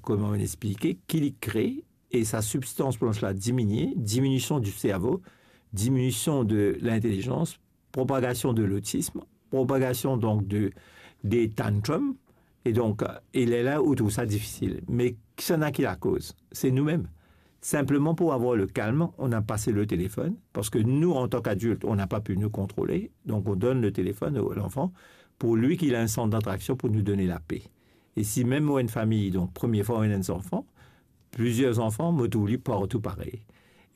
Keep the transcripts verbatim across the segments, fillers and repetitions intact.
kouma mo'nn explike, ki li kre, e sa sibstans blanch la diminie, diminusion di servo, diminusion de lintelizans, propagasion de lotism, propagasion donk de, de tantrum, e donk, e lerla ou trouv sa difisil. Me kisannla ki lakoz? Se noumem. Sinpleman pou avoir le kalm, on a pase le telefon, parski nou, antan ki adilt, on n'a pas pu nous contrôler, donk on donn le telefon a lanfan pou li ki li enn sant d'atraksion pou nou donn lape. E si mem ou enn fami, donk premie fwa ou ena enn zanfan, plizier zanfan, mo trouv li partou parey.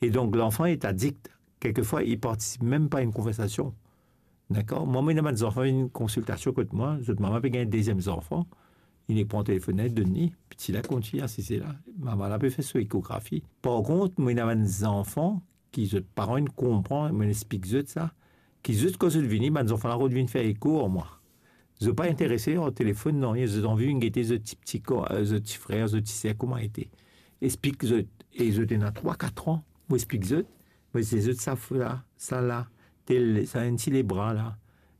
E donk lanfan est addict. Kelkefwa, li partisip mem pa enn konversasion. Dakor? Mwa, mo ena bann zanfan vinn konsiltasion kot mwa, zot mama pe gagn deziem zanfan, li nek pran telefon la, li donn li, piti la kontign asize la, mama la pe fer so ekografi. Par kont, mo ena bann zanfan ki zot paran inn konpran, mo'nn explik zot sa, ki zot kan zot vini, bann zanfan la rod vinn fer eko ar mwa. Zot pa interese ar telefon, nanye, zot anvi vinn gete zot ti, ti ko-, zot ti frer, zot ti ser, kouma ete. Explik zot, e zot ena trwa, kat an, mo explik zot, mo dir zot sa la, sa la, tel, sa enn ti lebra la.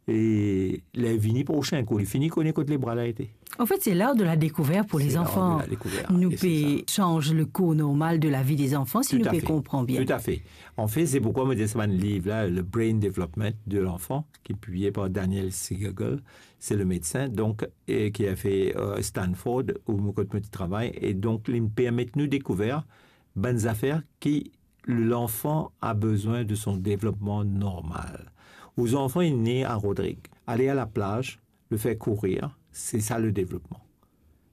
E ler vini prosin kou, li fini kone kot lebra la ete. En fait, c'est l'art de la découverte pour les enfants. C'est l'art de la découverte, et c'est ça. Nous pouvons changer le cours normal de la vie des enfants si nous pouvons comprendre bien. Tout à fait. An fet, se poukwa mo dir sa bann liv la, le Brain Development de l'Enfant, ki piblie par Daniel Siegel, se le medsin, donk, e ki a fer, euh, Stanford, ou mo, kot mo ti travay, e donk, li permet nou dekouver bann zafer ki l'enfant a besoin de son développement normal. Ou zanfan inn ne a Rodrig, ale a laplaz, le fer kourir, se sa le devlopman.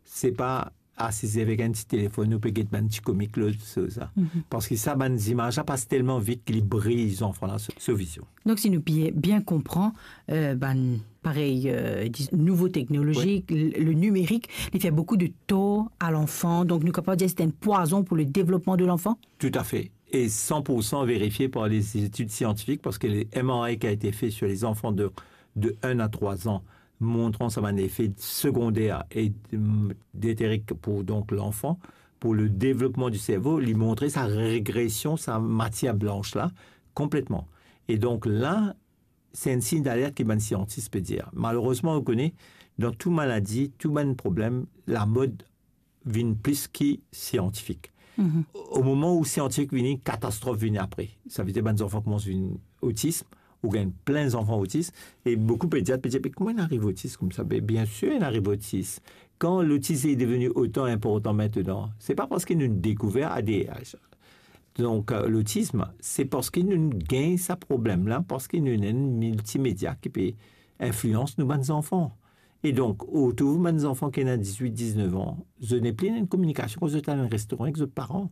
Se pa asize avek enn ti telefon, ou pe get bann ti komik, lot, sa, sa. Mhm. Parski sa, bann zimaz la pas telman vit ki li briy zanfan la so, so vizion. Donk, si nou bien, bien konpran, euh, bann, parey, euh, dis-, nouvo teknolozi, wi, le, le nimerik, li fer boukou de tor a lanfan. Donk, nou kapav dir se enn pwazon pou le devlopman de lanfan? Tout à fait. Et cent pour cent vérifié par les études scientifiques, parce que les M R I qui a été fait sur les enfants de, de un à trois ans, montrant sa bann effet secondaire et, hum, délétère pour donc l'enfant, pour le développement du cerveau, li montre sa régression, sa matière blanche là, complètement. Et donc là, se enn sign d'alerte ki bann siantis pe dir. Malerezman, ou kone, dan tou maladi, tou bann problem, lamod vinn plis ki siantifik. Mhm. O moman ou siantifik vini, katastrof vini apre. Sa ve dir bann zanfan koumans vinn otis, ou gagn plin zanfan otis, e boukou pediat pe dir, "Me kouma inn ariv otis koumsa?" Be, bien sir, inn ariv otis. Kan lotis est devenu autant important maintenant, se pa parski nou dekouver A D H. Donk, euh, lotism, se parski nou gagn sa problem la, parski nou ena enn miltimedia ki pe inflians nou bann zanfan. E donk, ou trouv bann zanfan ki ena dizwit, diznef an, zot nepli ena enn kominikasion kan zot al dan enn restoran ek zot paran.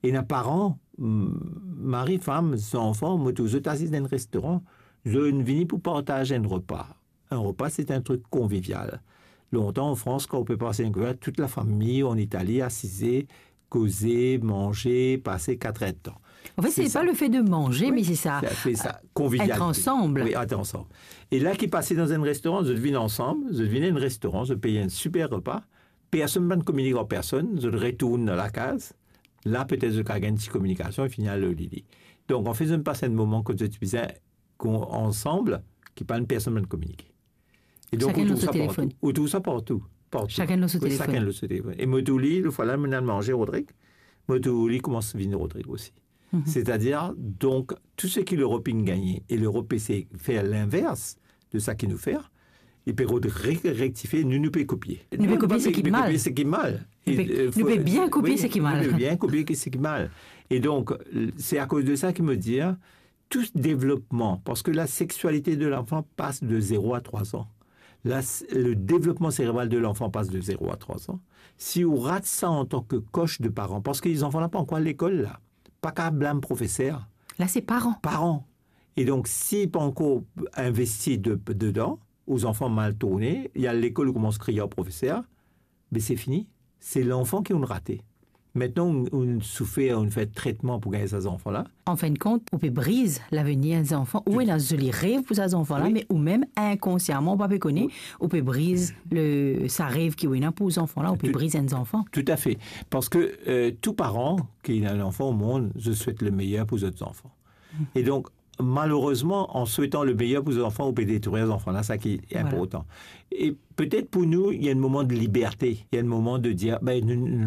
Ena paran, m-, mari, fam, zanfan, mo trouv zot asiz dan enn restoran, zot vini pou partaz enn repa. Enn repa, se enn trik konvivial. Lontan, an Frans, kan ou pe pas enn repa, tout lafami, an Itali, asize, koze, manze, pas kat er de tan. En fait, c'est pas le fait de manger, mais c'est ça, euh, être ensemble. C'est ça, c'est ça, convivialité. Oui, être ensemble. E la ki pase dan enn restoran, zot vinn ansam, zot vinn enn restoran, zot pey enn siper repa, personn pa kominik ar personn, zot retourn dan lakaz, la petet zot kapav gagn ti kominikasion, e fini al lor lili. Donk, an fet, zot pas enn moman kot zot bizin kon-, ansam, ki pa enn personn pa kominike. E donk, ou trouv sa partou. Ou trouv sa partou, partou. Sakenn lor so telefon. Wi, sakenn lor so telefon. E mo trouv li, lefwa la, mo'nn al manze Rodrig, mo trouv li koumans vinn Rodrig osi. Mhm. C'est-à-dire, donc, tout ce que l'Europe a gagné, et l'Europe essaie de faire l'inverse de ça ki nou fer, li pe rod re-, rektifie, nou, nou pe kopie. Nou pe kopie seki mal. Nou pe kopie seki mal. Nou pe, nou pe bien kopie seki mal. E, euh, fo-, wi, nou pe bien kopie seki mal. E donk, se akoz de sa ki mo dir, tout devlopman, parski la sexualité de l'enfant passe de zéro à trois ans. La, le développement cérébral de l'enfant passe de zéro à trois ans. Si ou rat sa antan ki koch de paran, parski zanfan la pa ankor lekol la, pa kapav blam profeser. La, se paran. Paran. E donk, si pa ankor investi de, dedan, ou zanfan mal tourne, li al lekol, ou koumans kriye ar profeser, be se fini. Se lanfan ki ou'nn rate. Aster ou'nn, ou'nn soufer, ou'nn fer tretman pou gagn sa zanfan la. An fin de kont, ou pe briz lavenir enn zanfan, ou ena zoli rev pou sa zanfan la, wi, me ou mem, inkonsiaman, ou pa pe kone, wi, ou pe briz le, sa rev ki ou ena pou zanfan la, ou pe briz enn zanfan. Tout à fait. Parski, euh, tou paran ki ena lanfan o mond, zot swet le meyer pou zot zanfan. Mhm. E donk, malerezman, an swetan le meyer pou zanfan, ou pe detrir zanfan la, sa ki inportan. Voilà. E petet pou nou, il y a un moment de liberté, il y a un moment de dire, ben, nou, nou,